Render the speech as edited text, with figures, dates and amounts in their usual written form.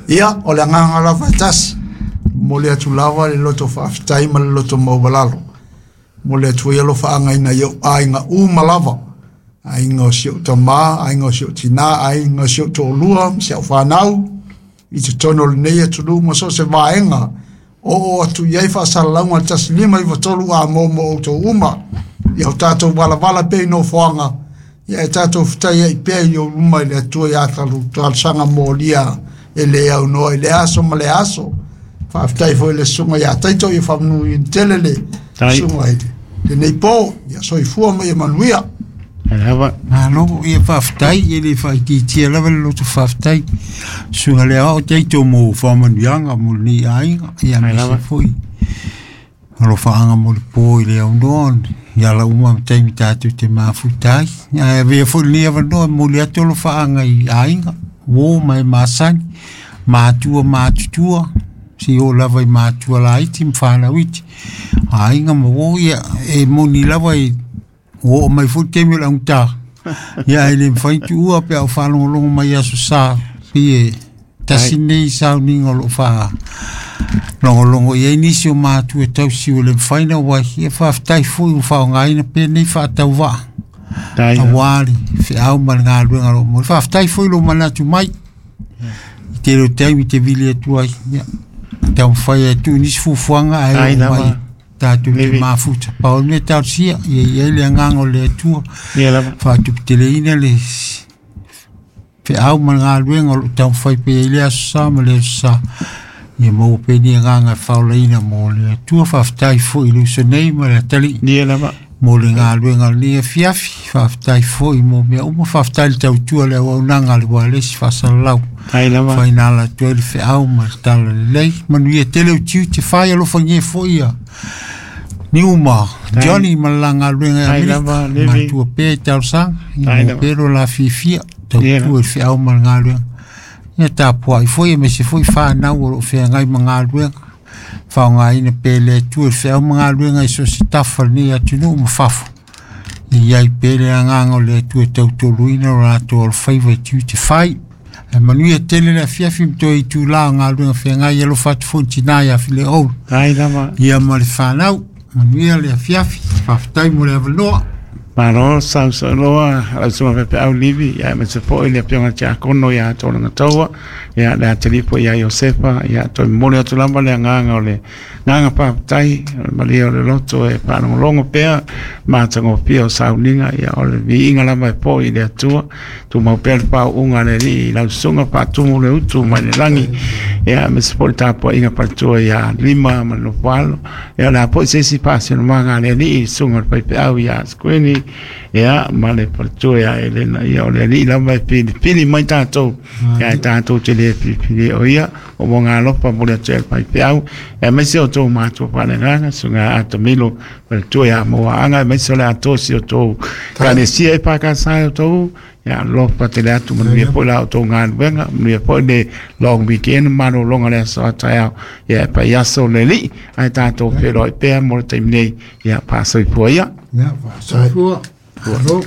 Ia, o le agaga lava e tasi, momoli atu lava le loto faafetai ma le loto maualalo. Momoli atu ai alofaaga i nai ou aiga uma lava, aiga o si ou tama, aiga o si ou tina, aiga o si ou toalua ma si au fanau, i totonu o lenei atunuu ma so o se vaega o oo atu i ai faasalalauga a le 1593 a mo mo outou uma. Ia o tatou valavala pea i nofoaga, ia e tatou fetaiai pea i ou luma i le Atua i a talosaga molia e le aunoa i lea aso ma lea aso. Faafetai foi i le susuga ia Taito, ia faamanuiaina tele le susuga i lenei po. Ia soifua ma ia manuia. Lava. Malo, ia faafetai, e le faaitiitia lava le loto faafetai. Susuga le aoao Taito mo faamanuiaga mo lenei aiga, ia aemaise foi alofaaga mo le po i le aunoa, i ala uma ma taimi tatou te mafuta ai. Ae avea foi lenei avanoa e momoli atu alofaaga i aiga, uo ma e masani, matua matutua, seia oo lava i matua laiti ma fanau iti, aiga ma uo, ia e moni lava i ua oo mai foi le taimi o le augata, ia ae le mafai ona tuua pe a ou faalogologo mai i Aso Sa, pei e tasi lenei sauniga o lo o faalogologo i ai nisi o matua tausi ua le mafai ona auai. Ia faafetai foi ua faaaogaina pea lenei faatauvaa aua le feau ma le galuega o lo o momoli. Faafetai foi i lou manatu mai i tele o taimi e te vili atu ai, ia taumafai e tuu nisi fuafuaga ae oo mai tatou te mafuta. Pau le mea talosia, ia i ai le agaga o le Atua, faatuputeleina le feau ma le galuega o lo o taumafai pea i le Aso Sa ma le Aso Sa. Ia maua pea ni agaga e faaolaina mo le Atua. Faafetai foi i le uso nei ma le atalii mo le galuega o lenei afiafi. Faafetai foi mo mea uma. Faafetai le tautua le auaunaga a le ualesi faasalalau. Faina ala atu ai le feau ma le tala lelei. Manuia tele o tiute fai alofagia foi ia Niuma, Johnny ma le la galuega i Amerika. Matua pea i talosaga, ia maua pea lo la fiafia, tautua i le feau ma le galuega. Ia tapuai foi aemaise foi fanau o lo o feagai ma galuega. Faaaogaina pea e le Atua le feau ma galuega i so o se tafa o lenei atunuu ma fafo. Ia i ai pea le agaga o le Atua e tautoaluaina lo latou alofaiva i tiute fai. Ae manuia tele le afiafi ma toe itula o galuega feagai. Alofa atu foi i le tina ia Fileoulu. Ia ma le fanau. Manuia le afiafi. Faafetai mo le avanoa. Malo sausaunoa lau susuga faifeau Livi, ia aemaise foi le afioga i le Tiakono ia Tologataua, ia le atalii foi ia Iosefa, ia toe momoli atu lava le agaga o le agaga faafetai, o le malie o le loto e faalogologo pea matagofie o sauniga, ia o le viiga lava e foi i le Atua. Tumau pea le faauuga a le Alii i lau susuga faatumu le utu mai le lagi, ia aemaise foi le tapuaiga faletua ia Lima ma le Nofoalo. Ia o le a foi se isi faasinomaga a le Alii i le susuga o le faifeau ia Sikuini, ia ma le faletua ia Elena. Ia o le Alii lava e filifili mai tatou, ia ae tatou te le filifili o ia, o moga alofa momoli atu ai le faifeau, aemaise o outou matua faaleagaga, susuga ia Atamilo, faletua ia Moaanga, aemaise o le atoa o si o outou ekalesia EFKS e outou, ia alofa tele atu, manuia foi la outou galuega, manuia foi le long weekend, malologa le aso a taeao, ia e fai aso le Alii, ae tatou feiloai pea mo le taimi nei, ia faasoifua ia. Ia, faasoifua. Malo.